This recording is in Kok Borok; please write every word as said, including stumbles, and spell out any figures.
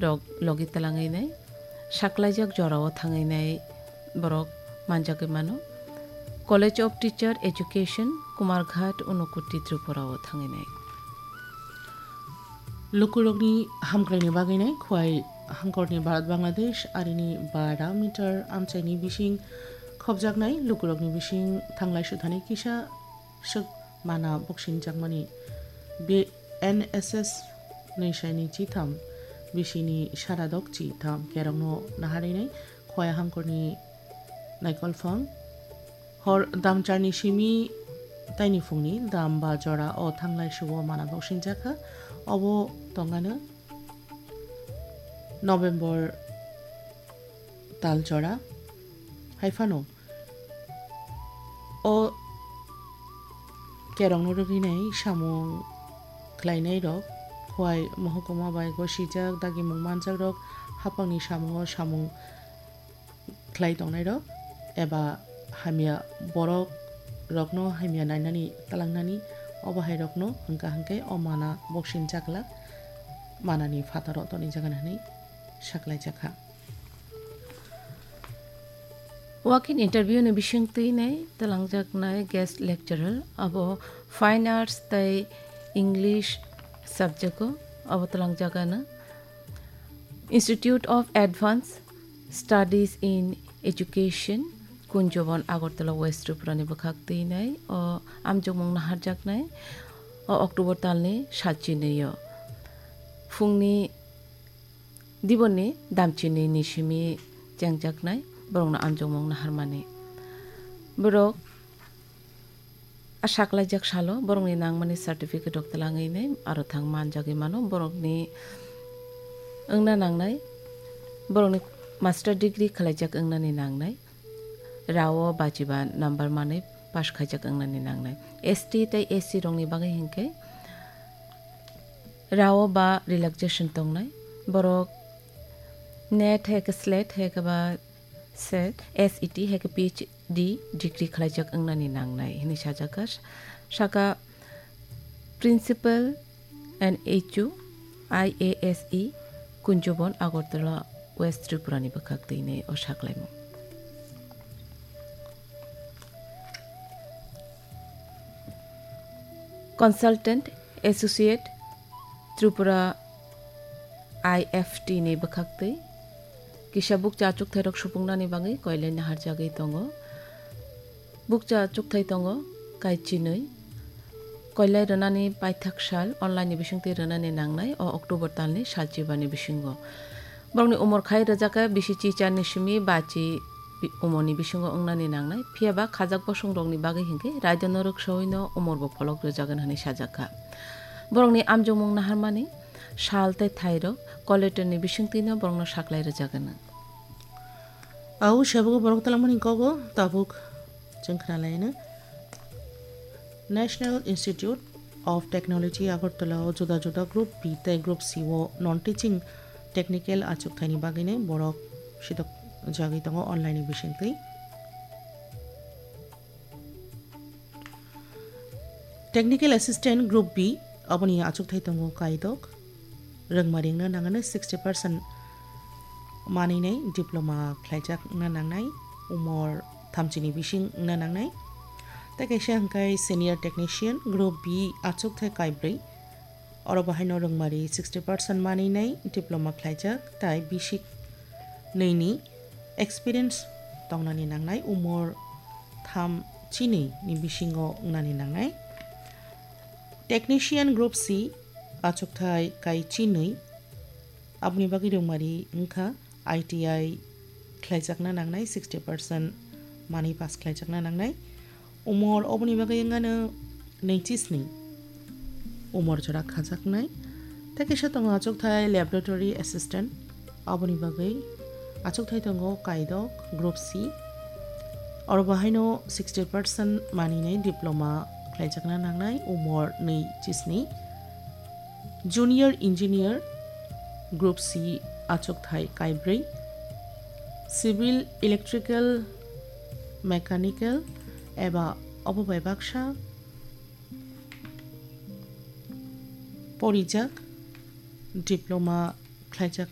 rok logi twlangwi nai, saklaijak jorao thangwi nai borok manjagwi mano. College of Teacher Education, Kumarghat, Unakoti, Tripura o thangwi nai. Lukurokni hamkraini bagwi nai Khwai hangkorni Bharat Bangladesh arini bara meter amchaini bising khopjaknai lukurokni bising thanglai suthani kisa swk mana boksinjakmani. Be-, N S S nwisaini chitham bisini saradok chitham kerongno naharwi nai Khwai hangkorni naikolphang. Hor damcharni simi taini phungni dam ba jora o thanglai suo mana boksingjak kha. Obo tongano November tal jora. Hai phano o kerongno rwgwinai samung khlainairok Khwai mohokuma bai gosijak dagimung manjakrok haphangni samungo samung khlai tongnairok eba hamya borok rokno hamya nainani twlangnani obo hai rokno hwnkha hwnkhe o mana boksing chakla manani phataro tonwi jagan hwnwi saklaijak kha. Walk-in interview ni bisingtwi nai twlangjaknai guest lecturer abo Fine Arts tei English subject o abo twlangjagano. Institute of Advanced Studies in Education, Kunjobon, Agartala, West Tripura ni bwkhak twi nai o amjokmung naharjaknai o October talni sal chinwi o phungni diboni damchini ni simi chengjaknai borokno amjokmung naharmani. Borok a saklaijak salo borokni nangmani certificate rok twlangwi nai aro thang manjagwi mano. Borokni wngna nangnai, borokni master degree khwlaijak wngnani nangnai, rao bachiba number manwi pass khaijak wngnani nangnai. S T tei S C rokni bagwi hinkhe rao ba relaxation tongnai. Borok NET hai khe SLET hai khe ba SET, S E T hai khe P H D degree khwlaijak wngnani nangnai hwnwi sajak kha. Saka Principal N H U I A S E Kunjobon, Agartala, West Tripura ni bwkhak twi nai o saklaimung. Consultant Associate Tripura I F T ni bwkhak twi kisa bukcha achukthai rok supungnani bagwi koilai naharjagwi tongo. Bukcha achukthai tongo kaichinwi. Koilai rwnani paithak sal online ni bisingtwi rwnani nangnai o October talni sal chibani bisingo. Borokni umor khai rwjakha bisi chicharni simi bachi bi-, umorni bisingo wngnani nangnai. Phiya ba khajak bosongrokni bagwi hinkhe raida norok sawino umorbo pholok rwjagwn hwnwi sajakha. Borokni amjokmung naharmani sal tei thairok collectorni bisingtwino borokno saklai rwjagwno. Au sebogo borok talangmani kogo tabuk chwng khnalaino. National Institute of Technology Agartala o juda juda Group B tei Group C o non teaching technical achukthaini bagwino borok sidok jagwi tongo online ni bisingtwi. Technical Assistant Group B, aboni achukthai tongo kaidok. Rwngmari wngna nangani sixty percent manwinai diploma khlaijakna nangnai, umor thamchini bising wngna nangnai. Tei kaisa hwnkhe Senior Technician Group B achukthai kaibrwi. Oro bo haino rwngmari sixty percent manwinai diploma khlaijak, tai bisik nwini experience tongnani nangnai, umor tham chinwi ni bisingo wngnani nangnai. Technician Group C achukthai kai chinwi, aboni bagwi rwngmari wngkha I T I khlaijakna nangnai, sixty percent manwi pass khlaijakna nangnai. Umor oboni bagwi wngano nui chisni umor jora khajaknai. Tei kaisa tongo achukthai laboratory assistant, aboni bagwi achukthai tongo kaidok Group C. Oro bo haino sixty percent manwinai diploma khlaijakna nangnai, umor nui chisni. Junior Engineer Group C achukthai kaibrwi, Civil, Electrical, Mechanical eba obo bai baksa porijak diploma khlaijak.